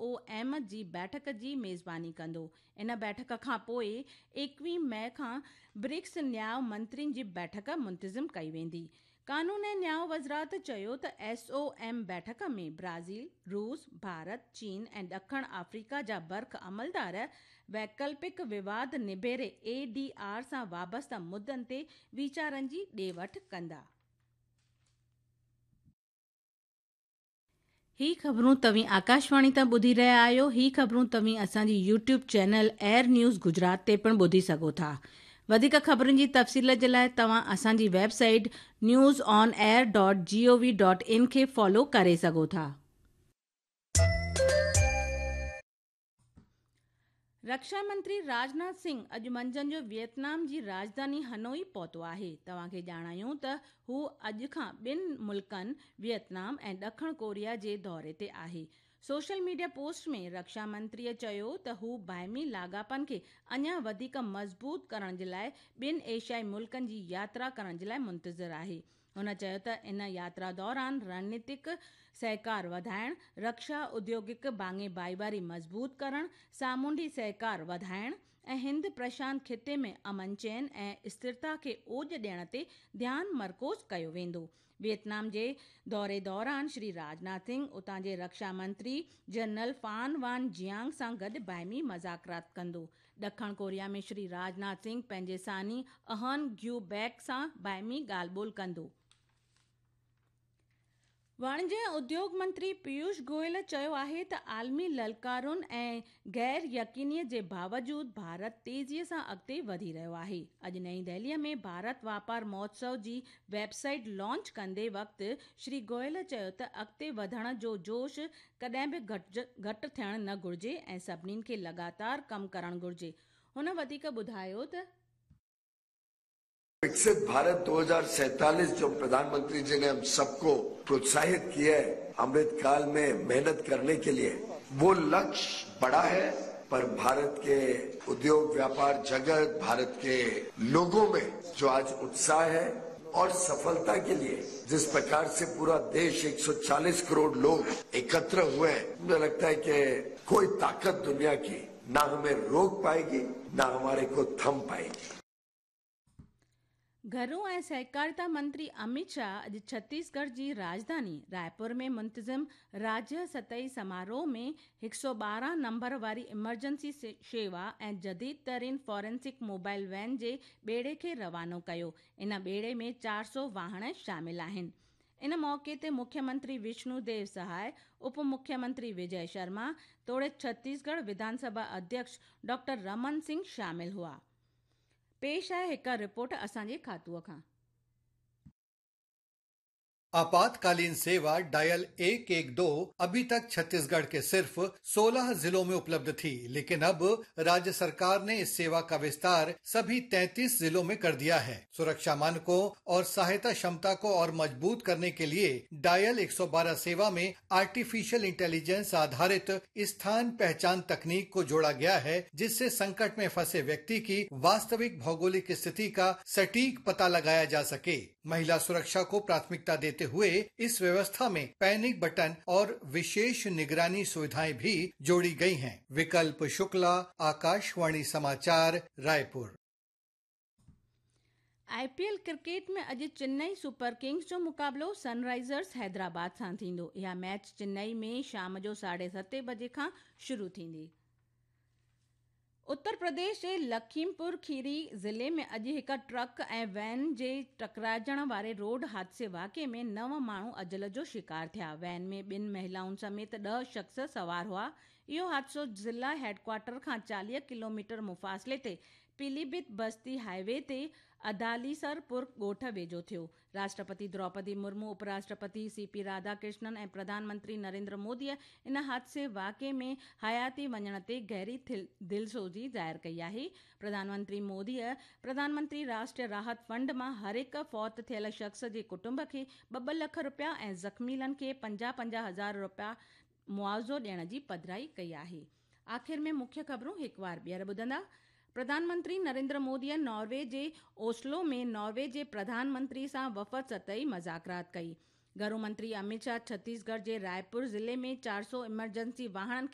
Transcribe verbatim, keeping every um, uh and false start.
O M جي بيٺڪ جي ميزباني ڪندو. ان بيٺڪ کان پوءِ ايڪويهه مئي کان برڪس نياءُ منترين جي بيٺڪ منتظم ڪئي ويندي. قانون ۽ نياءُ وزارت چيو ته ايس او ايم بيٺڪ ۾ برازيل، روس، ڀارت، چين ۽ ڏکڻ آفريڪا جا برک عملدار ويڪلپڪ وواد نبيري اي ڊي آر سان وابسته مدعن تي ويچارن جي ڏي وٺ ڪندا. هي خبرون توهين آڪاشواڻي تان ٻڌي رهيا آهيو. هي خبرون توهين اسان جي YouTube channel air news Gujarat تي پڻ ٻڌي سگهو ٿا. وڌيڪ خبرن جي تفصيل جي لاءِ توهان اسان جي website news on air dot G O V dot in کي فالو ڪري سگهو ٿا. رڪشا منتري راجناٿ سنگهه اڄ منجهند جو ويٽنام جي راڄڌاني هنوئي پهتو آهي. توهان کي ڄاڻايون ته هو اڄ کان ٻن ملڪن ويٽنام ۽ ڏکڻ ڪوريا جي دوري تي آهي. سوشل ميڊيا پوسٽ ۾ رڪشا منتريءَ چيو ته هو باهمي لاڳاپن کي اڃا وڌيڪ مضبوط ڪرڻ جي لاءِ ٻن ايشيائي ملڪن جي ياترا ڪرڻ جي لاءِ منتظر آهي. هن چيو ته ان ياترا دوران رڻنيتڪ سهڪار وڌائڻ، رڪشا اديوگڪ ڀاڱي ڀائيواري مضبوط ڪرڻ، سامونڊي سهڪار وڌائڻ ۽ هند پرشانت خطي ۾ امن چين ۽ اسٿرتا کي اوڄ ڏيڻ تي ڌيان مرڪوز ڪيو ويندو. ويٽنام جي دوري دوران شري راجناٿ سنگهه اتان جي رڪشا منتري جنرل فان وان جيانگ سان گڏ باهمي مذاڪرات ڪندو. ڏکڻ ڪوريا ۾ شري راجناٿ سنگهه پنهنجي ثاني اهن گيو بيڪ سان باهمي ڳالهه ٻولهه ڪندو. واڻج ۽ اديوگ منتري پيوش گويل چيو آهي ته عالمي للڪارن ۽ غير يقينيءَ جي باوجود ڀارت تيزيءَ سان اڳتي وڌي رهيو آهي. اڄ نئين دهليءَ ۾ ڀارت واپار مهوتسو جي ويب سائيٽ لانچ ڪندي وقت شري گويل چيو ته اڳتي وڌڻ جو جوش ڪڏهن به گهٽ ٿيڻ نه گهرجي ۽ سڀني کي لڳاتار ڪم ڪرڻ گهرجي. هن وڌيڪ ٻڌايو ته विकसित भारत दो हजार सैंतालीस जो प्रधानमंत्री जी ने हम सबको प्रोत्साहित किया है अमृत काल में मेहनत करने के लिए, वो लक्ष्य बड़ा है, पर भारत के उद्योग व्यापार जगत, भारत के लोगों में जो आज उत्साह है और सफलता के लिए जिस प्रकार से पूरा देश एक सौ चालीस करोड़ लोग एकत्र हुए हैं, मुझे लगता है कि कोई ताकत दुनिया की ना हमें रोक पाएगी ना हमारे को थम पाएगी। घरू ऐं सहकारिता मंत्री अमित शाह अॼु छत्तीसगढ़ जी राजधानी रायपुर में मुंतज़िम राज्य सतही समारोह में हिकु सौ ॿारहं नंबर वारी इमरजेंसी शेवा ऐं जदीद तरीन फॉरेंसिक मोबाइल वैन जे ॿेड़े खे रवानो कयो। इन ॿेड़े में चारि सौ वाहण शामिल आहिनि। इन मौक़े ते मुख्यमंत्री विष्णु देव सहाय, उप मुख्यमंत्री विजय शर्मा तोड़े छत्तीसगढ़ विधानसभा अध्यक्ष डॉक्टर रमन सिंह शामिल हुआ। पेश आहे हिकु रिपोर्ट असांजे खातूअ खां। आपातकालीन सेवा डायल एक एक दो अभी तक छत्तीसगढ़ के सिर्फ सोलह जिलों में उपलब्ध थी, लेकिन अब राज्य सरकार ने इस सेवा का विस्तार सभी तैंतीस जिलों में कर दिया है। सुरक्षा मानकों और सहायता क्षमता को और मजबूत करने के लिए डायल एक सौ बारह सेवा में आर्टिफिशियल इंटेलिजेंस आधारित स्थान पहचान तकनीक को जोड़ा गया है, जिससे संकट में फंसे व्यक्ति की वास्तविक भौगोलिक स्थिति का सटीक पता लगाया जा सके। महिला सुरक्षा को प्राथमिकता देते हुए इस व्यवस्था में पैनिक बटन और विशेष निगरानी सुविधाएं भी जोड़ी गई हैं। विकल्प शुक्ला, आकाशवाणी समाचार, रायपुर। आईपीएल क्रिकेट में अॼु चेन्नई सुपर किंग्स जो मुक़ाबिलो सनराइज़र्स हैदराबाद सां थींदो। इहा मैच चेन्नई में शाम जो साढे सते बजे खां शुरू थींदी। उत्तर प्रदेश जे लखीमपुर खीरी ज़िले में अॼु हिकु ट्रक ऐं वैन जे टकराइजण वारे रोड हादसे वाक़िए में नव माण्हू अजल जो शिकार थिया। वैन में ॿिनि महिलाउनि समेत ॾह शख़्स सवार हुआ। इहो हादसो ज़िला हेडक्वार्टर खां चालीह किलोमीटर मुफ़ासिले ते पीलीभीत बस्ती हाईवे ते अदालीसरपुर ॻोठ वेझो थियो। राष्ट्रपति द्रौपदी मुर्मू, उपराष्ट्रपति सी पी राधाकृष्णन ऐं प्रधानमंत्री नरेंद्र मोदीअ इन हादसे वाक़िए में हयाती वञण ते गहरी दिलसोज़ी ज़ाहिर कई आहे। प्रधानमंत्री मोदीअ प्रधानमंत्री राष्ट्रीय राहत फंड मां हर हिकु फौत थियल शख़्स जे कुटुंब खे ॿ ॿ लख रुपया ऐं ज़ख़्मीलनि खे पंजाह पंजाह हज़ार रुपया मुआवज़ो ॾियण जी पधराई कई आहे। आख़िर में मुख्य ख़बरूं हिकु बार ॿीहर ॿुधंदा। प्रधानमंत्री नरेंद्र मोदीअ नॉर्वे जे ओस्लो में नॉर्वे जे प्रधानमंत्री सां वफ़द सतही मज़ाकरात कई। घरू मंत्री अमित शाह छत्तीसगढ़ जे रायपुर ज़िले में चारि सौ इमरजेंसी वाहणनि